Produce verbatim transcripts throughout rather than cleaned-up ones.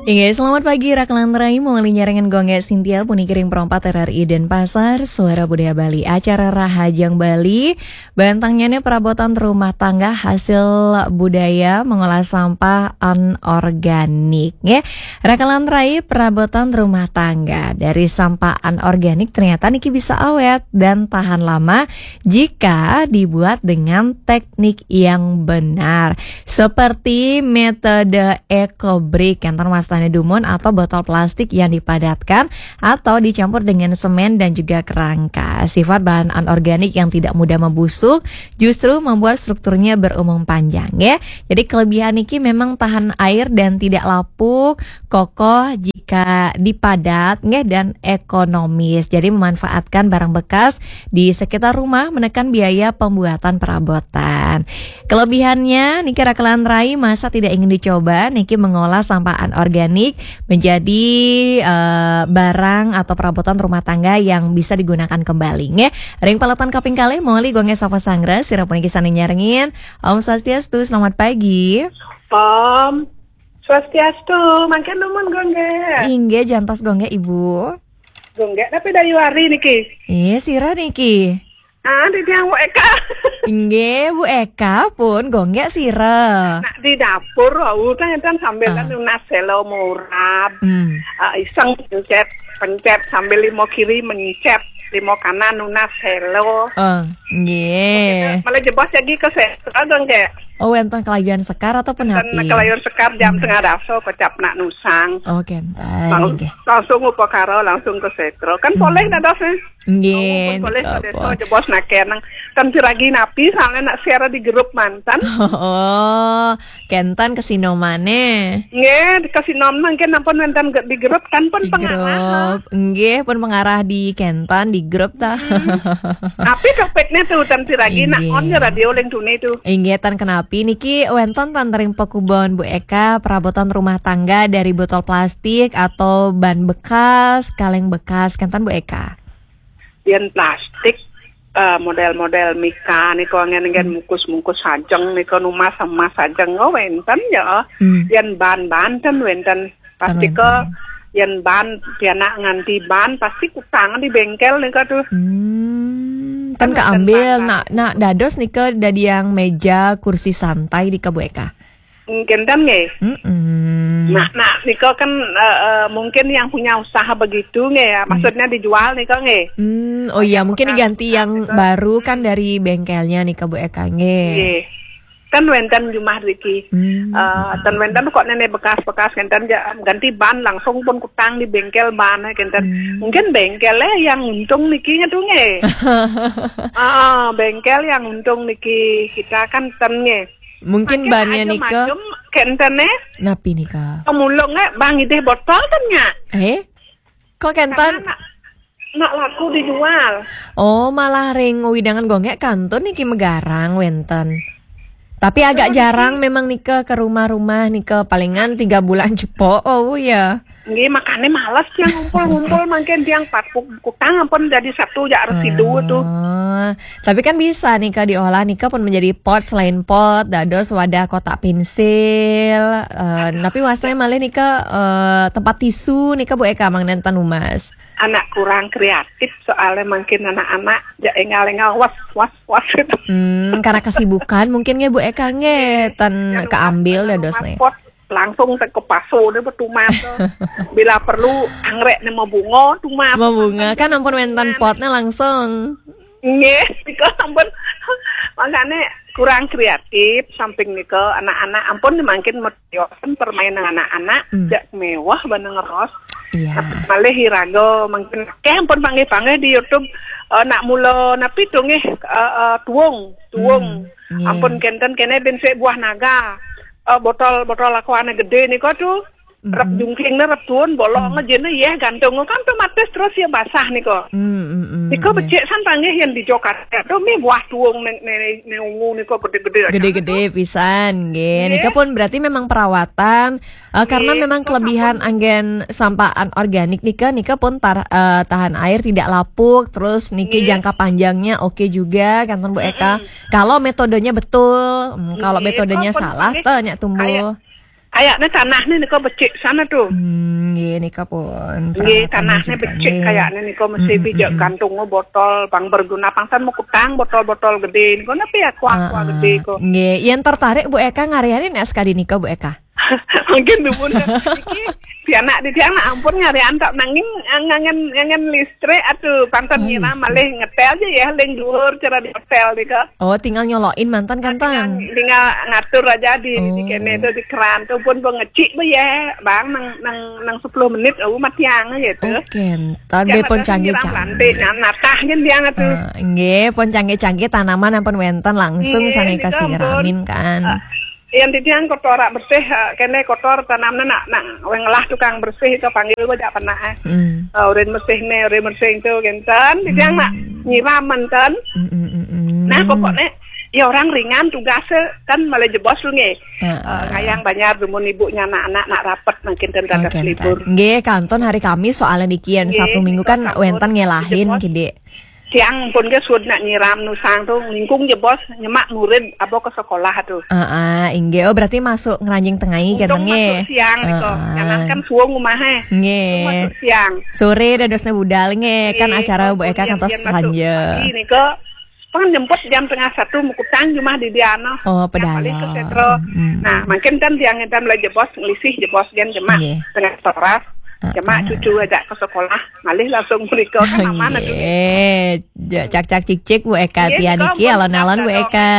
Inggih, selamat pagi, Rakelan Rai, mawali nyarengan Gung Gek Sintia, puniki ring Pro empat R R I Denpasar, Suara Budaya Bali, acara Rahajeng Bali, bantengnyané perabotan rumah tangga hasil budaya mengolah sampah anorganik, nggih. Rakelan Rai, perabotan rumah tangga dari sampah anorganik ternyata niki bisa awet dan tahan lama jika dibuat dengan teknik yang benar. Seperti metode eco brick, kenten wastané dumun atau botol plastik yang dipadatkan atau dicampur dengan semen dan juga kerangka. Sifat bahan anorganik yang tidak mudah membusuk justru membuat strukturnya berumur panjang, ya. Jadi kelebihan niki memang tahan air dan tidak lapuk, kokoh jika dipadat, nggih, dan ekonomis. Jadi memanfaatkan barang bekas di sekitar rumah, menekan biaya pembuatan perabotan. Kelebihannya, niki Rakelan Rai, masa tidak ingin dicoba niki mengolah sampah anorganik menjadi eh, barang atau perabotan rumah tangga yang bisa digunakan kembali, nggih. Ring paletan kaping kalih, mawali Gung Gek sapa sanggra, sira puniki sané nyarengin. Om Swastiastu, selamat pagi. Om Swastiastu, mangkin numun, Gung Gek. Inggih, jantos, Gung Gek, Ibu. Gung Gek, tapi dayu ari niki. Iya, sira niki. Ah, di tiang Bu Eka. Inggih, Bu Eka pun, Gung Gek, sira. Nak di dapur, wau kan enten sambil Ah. nunas selo murab. Hmm. Ah, iseng pencet, pencet sambil limo kiri mencet, limo kanan nunas selo. Oh, nggih. Malah jebos lagi ke selo, Gung Gek. Oh, wénten kelayuan sekar atau Ten penapi? Kelayuan sekar jam Hmm. setengah dasa kecap nak nusang. Oh, kenten, Lang-, nggih. Langsung upakara, langsung ke setro. Kan Hmm. polih dados, eh? Nggih, Oh, pun polih nika ke desa pun. Jebos nak keneng. Kan siragi napi, soalnya nak share di grup mantan. Oh, kenten kesinomane. Nggih, kesinom mangkin ampun wénten ge-, di grup kan pun Di pengarah, grup. Nggih, pun pengarah di kenten, di grup ta. Hmm. Tapi topiknya tuh, ten siragi nak Inggih. On ya radio ling tuni tuh. Inggih, tan kenapi niki wénten tan ring pakubon Bu Eka, perabotan rumah tangga dari botol plastik atau ban bekas, kaleng bekas, kenten Bu Eka? Yén plastik, eh, model-model mika nika, ngen-ngen Hmm. mungkus-mungkus sajeng nika, numas emas sajeng, oh, wénten ya. Hmm. Yén ban-ban ten wénten. Pasti Ten ke wénten. Yén ban, pianak nganti ban, pasti kutang di bengkel nika tuh. Hmm, kan Kan wénten keambil, ban-ban. Nak, nak dados nika dadi yang meja, kursi santai nika, Bu Eka? Kenten nggih. Mm-mm. Nah, nah, nika kan, eh, eh, mungkin yang punya usaha begitu nggih ya, Hmm. maksudnya dijual nika nggih. Hmm, oh iya, Yang mungkin bekas, diganti bekas yang nika. Baru kan dari bengkelnya nika, Bu Eka, nggih. Nggih. Kan wénten jumah riki. Hmm. Eh, ten wénten kok nenek bekas-bekas kenten ja-, ganti ban langsung pun kutang di bengkel ban kenten. Hmm. Mungkin bengkelnya yang untung niki tuh nggih. Ah, bengkel yang untung niki kita kan ten nggih. Mungkin Makin bannya aja nika. Macem kenten, eh. Napi nika? Pemulung, eh, bang idih botol ten nya. Eh? Kok kenten? Karena nak, nak laku dijual. Oh, malah ring wewidangan Gung Gek kantun niki megarang wénten. Tapi agak Betul, jarang niki. Memang nika ke rumah-rumah nika, palingan tiga bulan cepok, oh ya. Nggih, makanya males tiang ngumpul-ngumpul, mangkin tiang pat ku-, kutang ampun jadi satu ya residu tuh. Oh, tapi kan bisa nika diolah nika pun menjadi pot, selain pot, dados wadah kotak pensil, eh, tapi wasnya malih nika, eh, tempat tisu nika, Bu Eka, mangda ten numas. Anak kurang kreatif soalnya mangkin anak-anak ya engal-engal was, was, was gitu. Hmm, karena kesibukan mungkin nggih, Bu Eka, nggih, ten Yang keambil numas, dados numas nih. Pot. Langsung te ke paso ne betumat to. Bila perlu anggrek ne mabunga, tumat. Mabunga, kan ampun wénten potnya langsung. Nggih, nika ampun. Makanya kurang kreatif, samping nika anak-anak ampun mangkin meyosen permainan anak-anak, Hmm. Jak mewah bana ngeros. Iya. Malih iraga mangkin akeh ampun panggih-panggih di YouTube, eh, nak mula napi tuh nggih, eh, eh, tuung, tuung. Hmm, nggih. Ampun kenten kene bin sik buah naga. Eh, botol, botol aquane gedé nika tuh. Rep Mm-mm. Jungkingnya rep tuun, bolong Mm. Aja nih ya, gantung kan otomatis terus ya basah nika. Mm, mm, mm, nika iya. Becik san panggih yang di Jakarta. Tuh mi buah tuung ning, ning, ning ungu nika gedé-gedé aja. Gedé-gedé tuh. Pisan nggih. Nggih. Nika pun berarti memang perawatan, eh, karena nggih, memang nika kelebihan sampun. Anggen sampah anorganik nika, nika pun tar-, eh, tahan air, tidak lapuk, terus niki nggih. Jangka panjangnya oke juga, kenten Bu Eka. Mm-mm. Kalau metodenya betul, hmm, kalau nggih, metodenya kok pun salah, panggih teu nya tumbuh. Aya, Kayaknya tanahnya nika becik sana tuh. Hmm, nggih, nika pun. Nggih, tanahnya becik kayaknya nika, mesti bijak gantung botol, pang berguna, pang tan mau kutang botol-botol gede nika, napi ya, aqua-aqua gede kok. Nggih, yang tertarik Bu Eka ngarianin es kadi nika, Bu Eka? Mungkin dumun kan. Iki pianak di tiang nak ampun ngarian tak nanging, eh, ngangen, ngangen listrik, aduh, pang tan nyiram, malih ngetel aja ya, ling dhuwur cara di hotel nika. Oh, tinggal nyolokin mantan kan, tinggal, tinggal ngatur aja di, di kene itu, di keran tuh pun pengecik be ya, bang, nang, nang, nang sepuluh menit, oh, mati yang aja tuh. Oke, entar be pun canggih-canggih. Nanti natah kan dia tuh. Eh, nggih, pun canggih-canggih, tanaman ampun wenten langsung. Nggih, sana nika kasih ampun. Ramin kan. Eh, yang di tiang kotor, bersih, eh, kene kotor, tanamnya nak, nak weng lah tukang bersih itu panggil gua jak pernah, eh. Hmm. Eh, urin bersih nih, urin bersih itu, genten. Di tiang nak nyiram mantan. Hmm, hmm, hmm, hmm. Nah, pokoknya ya orang ringan tugasnya kan, malah jebos lu nge. Heeh. Eh, ngayang banyak dumun ibunya anak-anak nak rapet makin ten dadas libur. Nggih, kanton hari Kamis soalnya dikian. Nggih, Sabtu Minggu kan wenten ngelahin jebos. Kide. Tiang pun ke sud nak nyiram nusang tuh ngingkung jebos, nyemak murid abo ke sekolah tuh. Heeh, inggih. Oh, berarti masuk ngeranjing tengai. Untung kene nggih. Masuk siang niko. Heeh. Jangan kan suwung rumah, eh. Nggih. Untung masuk siang. Sore dadosnya budal nggih. Kan acara Bu Eka kantos sanja. Pagi niko. Pengen jemput jam tengah satu, mukutang jumah di Diano. Oh, yang paling ke pedalem. Setro. Hmm. Nah, makin kan tiang ngetam lah jebos, ngelisih jebos, jan jemak. Nggih. Tengah toras, jemak cucu ajak ke sekolah, malih langsung mereka kan aman tuh. Nggih. Ja-, cak-cak cik-cik, Bu Eka. Nggih, tiang niko niki pun alon-alon, Bu Eka.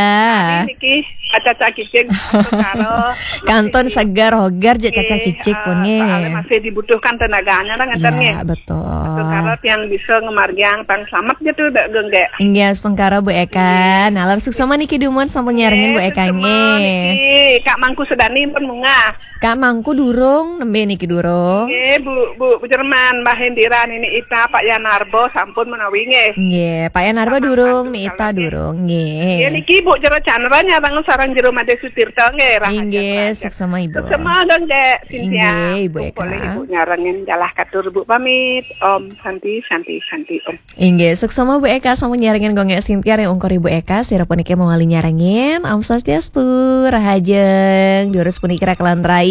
Niki, cak-cak cik-cik, karo. Kanton segar hogar, ja-, cak-cak cik-cik pun, eh, nggih. Soalnya masih dibutuhkan tenaganya lah, ngeten, nggih. Iya, betul. Astungkara tiang bisa ngemargiang tang selamat gitu, dak genggek. Inggih, astungkara Bu Eka. Nggih. Nalar suksema niki dumun sampun nyarengin Bu Eka, suksema nggih. Niki, Kak Mangku Sedani pun munggah. Kak Mangku durung, nembe niki durung. Nggih, Bu, Bu, Bu Jerman, Mbah Hendira, Nini Ita, Pak Yanarbo, sampun menawi nggih. Nggih, Pak Yanarbo durung, Ni Ita durung, nggih. Nggih, niki Bu Jero Chandra nyareng sareng Jero Made Sutirta nggih, rahaja. Inggih, rahaja. Suksema Ibu. Suksema dong, Dek Cynthia. Inggih, Ibu Eka. Boleh Ibu nyarengin, jalah katur Bu pamit. Om Santi, Santi, Santi, Om. Inggih, suksema Bu Eka sampun nyarengin, Gung Gek Sintia ring ungkur Ibu Eka, sira puniki mawali nyarengin. Om Swastiastu, rahajeng. Durus puniki rakelan rai.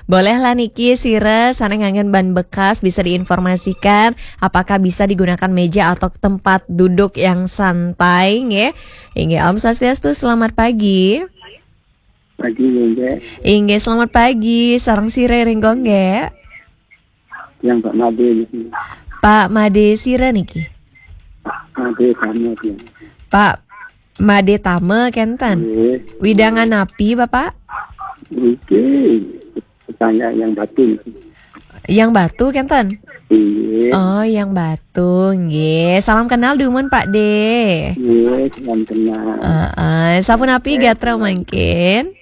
Boleh lah niki sira sane nganggen ban bekas bisa diinformasikan apakah bisa digunakan meja atau tempat duduk yang santai nggih. Inggih, Om Swastiastu, selamat pagi. Pagi, Gung Gek. Inggih, selamat pagi. Sareng sira ring Gung Gek? Yang Pak Made niki. Pak Made sira niki? Pak Made Tama, ya. Pak Made Tama kenten. Nggih. Widangan napi, Bapak? Niki tetangga yang Batu niki. Yang Batu kenten? Nggih. Oh, yang Batu, nggih. Salam kenal dumun, Pak De. Nggih, salam kenal. Heeh, sapunapi gatra mangkin?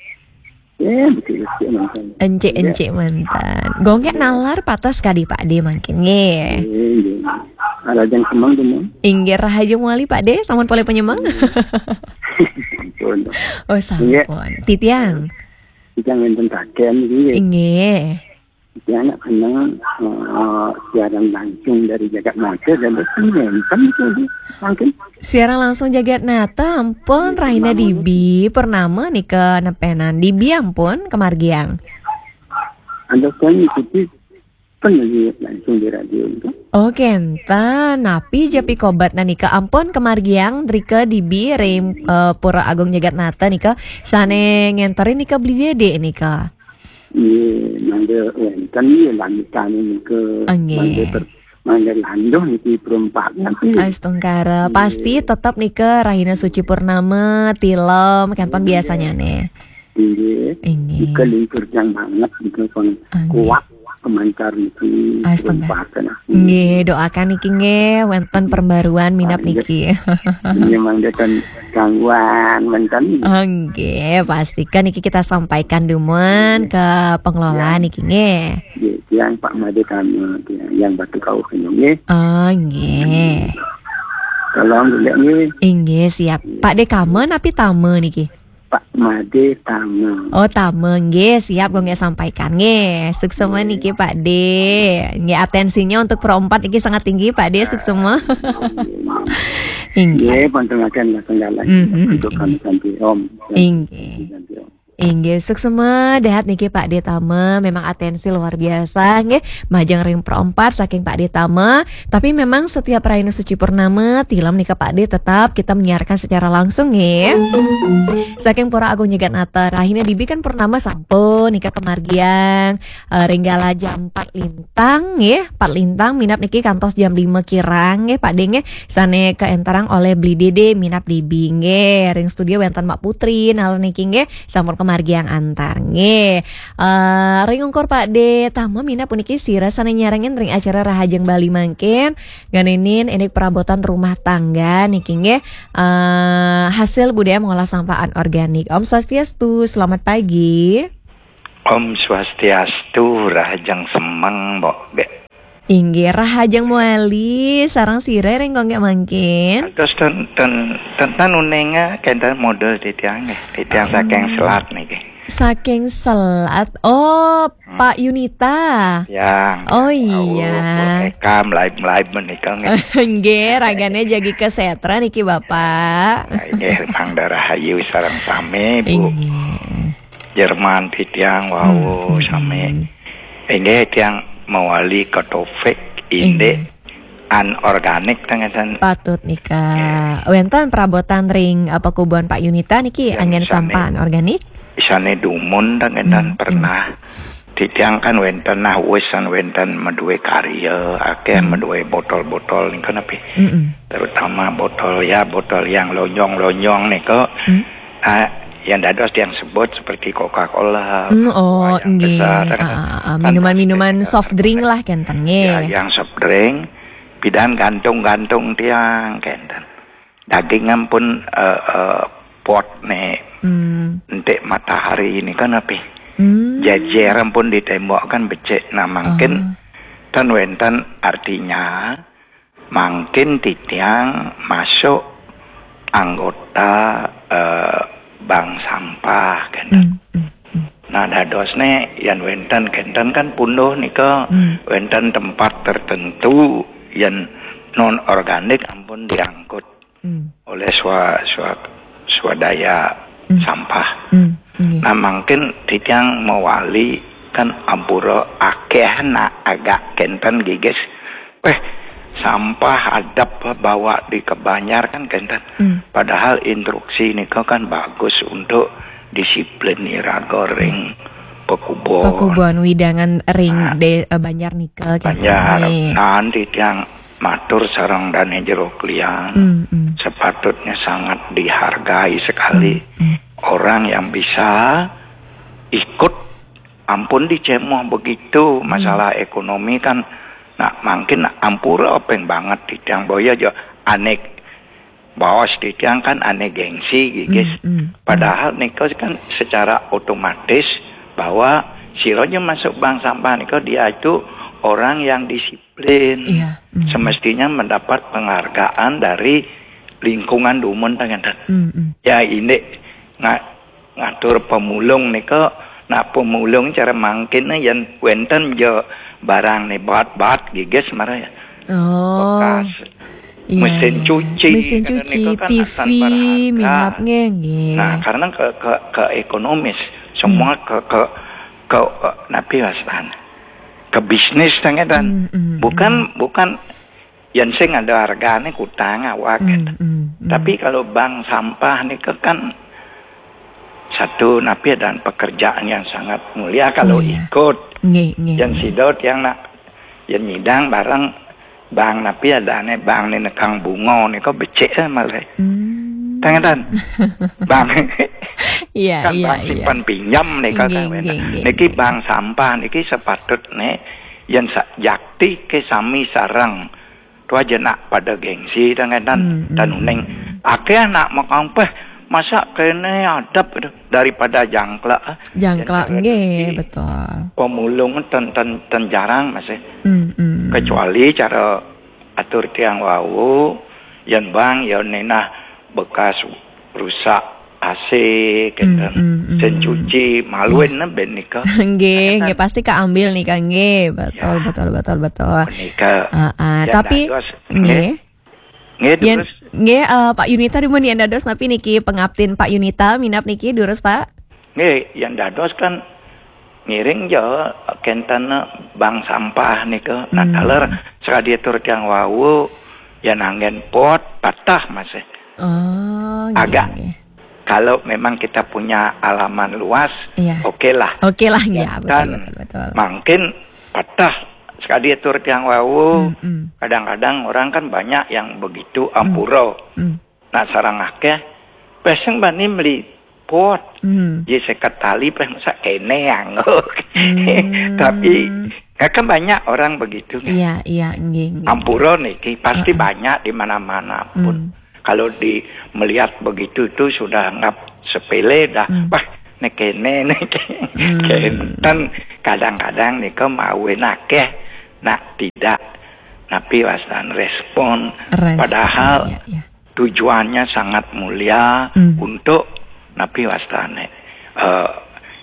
Eh, becik-becik mantan. Encik-encik mantan. Gung Gek nalar patas kadi Pak De mangkin, nggih. Nggih, nggih. Rahajeng semeng, dumun. Inggih, rahajeng mawali Pak De, sampun polih panyemeng. Sampun. Oh, sampun. Nggih. Titiang. Titiang wenten taken nggih. Inggih. Titiang nak kenal, eh, siaran langsung dari Jagat Nata, dan betul wenten itu, mangkin. Siaran langsung Jagat Nata, ampun, rahina dibi, purnama nika nepenan dibi ampun, kamargiang. Ada kan ikuti kan lagi langsung di radio itu. Oh, kenten. Napi ja pikobatna nika, ampun, kamargiang drika dibi ring, eh, Pura Agung Jagat Nata nika, sane ngenterin nika Beli Dede nika. Nggih, mangga wenten nggih langitan nika. Ah, nggih. Mangga ter-, mangga landuh niki perempat nanti. Astungkara, nggih. Pasti tetep nika rahina suci purnama, tilem, kenten biasanya nih. Nggih. Nggih. Nika lingkur jang banget nika pun kuat kemancar niki. Astungkara. Perempatan. Nggih, doakan niki nggih, wenten perbaruan minab niki. Nggih, mangga ten gangguan wenten. Nggih, pastikan niki kita sampaikan dumun ke pengelola niki nggih. Nggih, tiang Pak Made Tama, tiang yang Batu Kauh nggih. Oh, nggih. Tolong dulu nggih. Inggih, siap. Pak De Kama napi Tama niki? Pak Made Tama. Oh, Tama nggih, siap, Gung Gek sampaikan nggih. Suksema niki Pak De. Nggih, atensinya untuk perempat niki sangat tinggi Pak De, suksema. Inggih. Nggih, panturaken lah tenggalan. Mhm. Untuk kami santi Om. Inggih. Santi Om. Inggih, suksma dahat niki Pak De Tama, memang atensi luar biasa nggih, majeng ring Pro empat saking Pak De Tama. Tapi memang setiap rahina suci purnama, tilam nika Pak De tetap kita menyiarkan secara langsung nggih. Saking Pura Agung Nyegat Nata, rahina dibi kan purnama sampun nika kamargiang, eh, ring galah jam empat lintang nggih, empat lintang minab niki kantos jam lima kirang nggih Pak De nggih. Sane kaenterang oleh Beli Dede minab dibi nggih. Ring studio wenten Mak Putri, nala niki nggih. Sampun kamargiang antar nggih. Eh, ring ungkur Pak De Tama minab puniki sira sane nyarengin ring acara Rahajeng Bali mangkin, ngenenin indik perabotan rumah tangga niki nggih. Eh, hasil budaya mengolah sampah anorganik. Om Swastiastu, selamat pagi. Om Swastiastu, Rahajeng Semeng, Mbok Bek. Inggih, Rahajeng Muali, sareng sira ring kongke mangkin. Terus ten ten ten ten uninga kenten model titiang nggih. Titiang saking Selat niki. Saking Selat. Oh, Pak Yunita. Ya. Oh, iya. Eka melaib-melaib menika nggih. Nggih, ragane jagi kesetra niki Bapak. Nggih, mangda rahayu sareng sami, Bu. Inggih. Jerman titiang wau sami. Inggih, tiang mawali ke topik indik anorganik teng ngeten. Patut nika. Nggih. Wenten perabotan ring, eh, pekubuan Pak Yunita niki anggen sampah anorganik? Isane dumun teng ngeten pernah. Titiang kan wenten nah wis kan wenten madue karya, akeh madue botol-botol nika napi? Mm-mm. Terutama botol ya, botol yang lonjong-lonjong nika. Ah, yang dados yang sebut seperti Coca-Cola, mm, oh, yang nggih, besar, kan, ah, ah, ah, kan minuman-minuman plastik, soft drink lah kenten nggih. Ya, yang soft drink, pidan gantung-gantung tiang kenten. Daging ampun, eh, eh, pot ne, mm, entik matahari ini kan api. Mm. Jejer ampun di tembok kan becik. Nah, mangkin, oh, ten wenten artinya mangkin titiang masuk anggota, eh, bank sampah kenten. Mm, mm, mm. Nah, dadosne yen wenten kenten kan punduh nika, mm, wenten tempat tertentu yen non organik ampun diangkut, mm, oleh swa-, swa-, swadaya, mm, sampah. Mm, nggih. Nah, mangkin titiang mawali kan ampura akeh nak agak kenten gigis. Eh, sampah adep bawa di kebanjar kan kenten. Hmm. Padahal instruksi nika kan bagus untuk disiplin iraga ring pekubon. Pekubon widangan ring, ah, de-, eh, banjar nika kenten. Banjar. Nggih. Nah, titiang matur sareng dane jero klian. Hmm, hmm. Sepatutnya sangat dihargai sekali, hmm, hmm, orang yang bisa ikut. Ampun dicemoh begitu, hmm, masalah ekonomi kan. Nah, mangkin ampura peng banget titiang boya aja anek baos titiang kan ane gengsi gigis. Hmm, hmm, hmm. Padahal nika kan secara otomatis bahwa sira nya masuk bank sampah nika dia itu orang yang disiplin. Iya. Hmm. Semestinya mendapat penghargaan dari lingkungan dumun ta ngenten. Hmm, hmm. Ya, indik nga-, ngatur pemulung nika, nak pemulung cara mangkin yen wenten ja barang ne bat-bat gigis mara ya. Oh. Bekas. Iya, mesin, iya, cuci, mesin karena cuci, nika kan T V, asan berharga. Minyak nggih, nggih. Nah, karena ke, ke, ke ekonomis, semua, hmm, ke, ke, ke, eh, napi wastan. Ke bisnis ta ngeten. Hmm, hmm, bukan, hmm, bukan yen sing ada hargane kutang awak, hmm, kenten. Hmm, hmm. Tapi kalau bank sampah nika kan satu napi dan pekerjaan yang sangat mulia kalau, oh, iya, ikut. Nggih, nggih, yen nggih. Sida tiang nak yen nyidang bareng bank napi adane bank ni nekang bunga nika becik, eh, malah. Hmm. Ta ngeten. Bank. Iya, kan iya, bank, iya, simpan pinjam nika, nggih, kan, nggih, nggih, niki nggih. Bank sampah niki sepatutne yen sa-, jakti ke sami sareng. Tu aja nak pada gengsi ta ngeten, hmm, hmm, uning. Akeh nak makampeh, masa kene adep daripada jangklak. Jangklak, yen cara nggih, di betul. Pemulung ten, ten, ten jarang masih. Hmm, hmm. Kecuali cara atur tiang wau, yen bank, yen nenah bekas rusak A C, kenten. Hmm, hmm, hmm, sen cuci, maluin ben nika. Nggih, nggih, pasti keambil nika, nggih. Betul, ya, betul, betul, betul. Menika. Ah, ah, ya, tapi dados, nggih. Nggih. Nggih, yen, durus. Nggih, eh, Pak Yunita dumun yen dados napi niki pengabdin Pak Yunita, minab niki durus, Pak. Nggih, yang dados kan ngiring jo kenten bank sampah nika. Nah, hmm, taler sakadi atur tiang wau, yang anggen pot patah masih. Oh, nggih, agak nggih. Kalau memang kita punya halaman luas, iya, oke lah. Oke lah, ya, ya, betul, kan, betul, betul. Mungkin patah sakadi atur tiang wau. Hmm, hmm. Kadang-kadang orang kan banyak yang begitu, hmm, ampura. Hmm. Nah, sareng akeh, pesen bani meli pot. Hmm. Ye seket tali peh masa kene anggo. Hmm. Tapi, ya kan banyak orang begitu, kan? Iya, iya, nggih, nggih. Ampura niki pasti, heeh, banyak di mana-mana pun. Hmm. Kalau di melihat begitu tuh sudah anggap sepele dah. Hmm. Wah, nek kene, nek, hmm, kenten. Kadang-kadang nika mawen akeh, nak tidak, tapi wastan respon. Respon, padahal, iya, iya, tujuannya sangat mulia, hmm, untuk napi wastane, eh,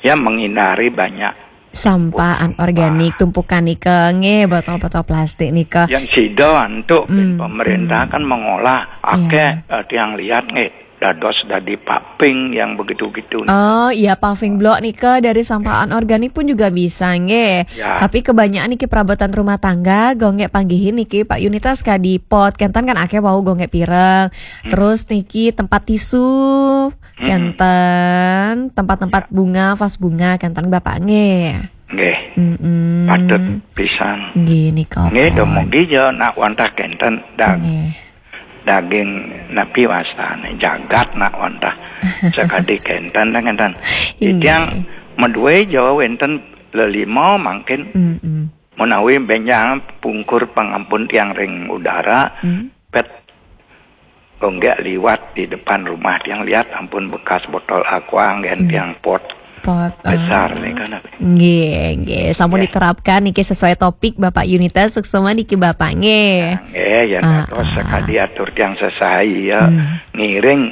ya, menghindari banyak sampah anorganik, sampah, tumpukan nika, nggih, botol-botol plastik nika. Yang sida antuk, hmm, pemerintah, hmm, kan mengolah, iya, akeh, eh, tiang lihat nggih, dados dadi paving yang begitu-gitu nika. Oh, iya, paving blok nika dari sampah, nggih, anorganik pun juga bisa, nggih. Ya. Tapi kebanyakan niki perabatan rumah tangga, gonggek panggihin niki, Pak Yunitas, kadi pot, kenten kan akeh wau gonggek pireng. Hmm. Terus niki tempat tisu, hmm, kenten, tempat-tempat, ya, bunga, vas bunga, kenten Bapak nggih. Nggih. Mm-mm. Patut pisan. Nggih, nika. Nggih, dumugi ja nak wantah kenten dag-, nggih, daging napi wastane jagat nak wantah sakadi kenten dah kenten. Nggih. Titiang madue ja wenten lelima mangkin. Mm-mm. Menawi benjang pungkur pangampun tiang ring udara, hmm, pet gonggek liwat di depan rumah tiang lihat ampun bekas botol aqua nggih, hmm, tiang pot. Pot, besar, eh, nika napi. Nggih, nggih. Sampun, nggih, diterapkan niki sesuai topik Bapak Yunita, suksema niki Bapak nggih. Ya, nggih, ya, ah, dados, ah, sakadi atur tiang sesai ya. Hmm. Ngiring,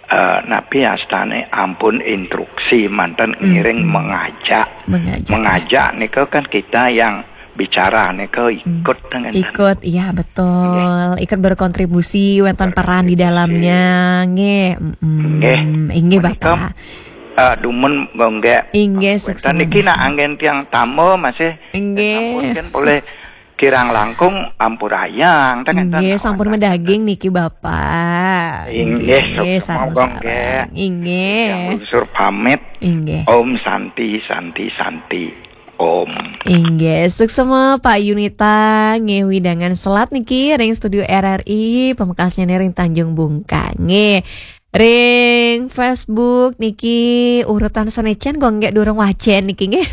eh, napi astane ampun instruksi manten, hmm, ngiring, hmm, mengajak. Mengajak, ya. Mengajak nika kan kita yang bicara nika, hmm, ikut dengan, ikut, iya, betul. Nggih. Ikut berkontribusi, wenten peran di, berkontribusi, dalamnya, nggih. Mm-mm. Nggih. Inggih, menika, Bapak, eh, dumun gonggek. Inggih, wenten suksema niki nak anggen tiang tamba masih. Inggih. Sampun kan boleh kirang langkung ampurayang, teng enten. Inggih, sampun awan medaging niki, Bapak. Inggih, inggih, suksema, sareng-sareng, nggih. Inggih. Tiang lungsur pamit. Inggih. Om Santi, Santi, Santi. Om. Inggih, suksema Pak Yunita, nggih, wewidangan selat niki ring studio R R I, pamekasnya ring Tanjung Bungkang. Nggih. Ring Facebook niki urutan sane cen kok nggih durung wacen niki nggih.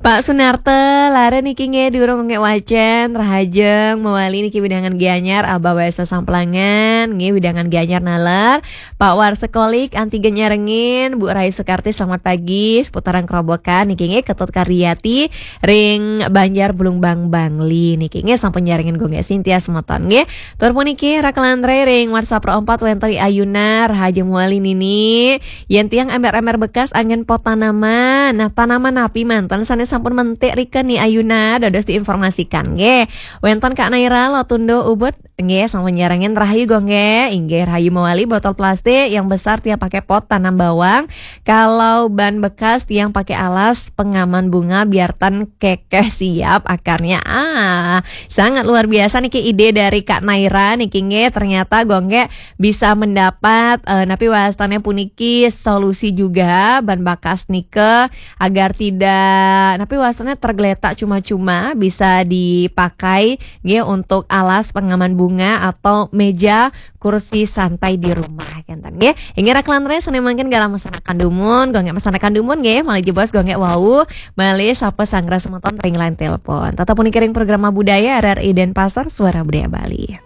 Pak Sunarta, lara niki nggih durung nggih wacen, rahajeng mawali niki wewidangan Gianyar, Abah Wesa Samplangan, nggih wewidangan Gianyar naler. Pak Warsekolik, anti nyarengin, Bu Rai Sukarti, selamat pagi, seputaran Kerobokan, niki nggih Ketut Karyati, ring Banjar Blumbang Bangli, niki nggih sampun nyarengin gonggek Sintia semeton nggih. Tur puniki, Raklan Rai ring WhatsApp ro empat wenten ri Ayunar, rahajeng mawali nini, yen tiang emer-emer bekas anggen pot tanaman. Nah, tanaman napi manten sane sampun mentik rika ni Ayunar, dados diinformasikan nggih. Wenten Kak Naira, Lotundo, Ubud, nggih, sampun nyarengin rahayu gonggek, inggih rahayu mawali botol plastik, yang besar tiang pakai pot tanam bawang, kalau ban bekas tiang pakai alas pengaman bunga biar tan kekeh siap akarnya. Ah, sangat luar biasa niki ide dari Kak Naira niki nggih, ternyata gonggek bisa mendapat, eh, napi wastane puniki solusi juga ban bekas nika agar tidak napi wastane tergeletak cuma-cuma, bisa dipakai nggih, untuk alas pengaman bunga atau meja kursi santai di rumah, kenten nggih. Inggih Raklan Rai, sane mangkin galah mesanakan dumun, gonggek mesanakan dumun nggih, malih jebos gonggek wau, malih sapa sanggra semeton ring line telepon. Tetep puniki ring Programa Budaya R R I Denpasar, Suara Budaya Bali.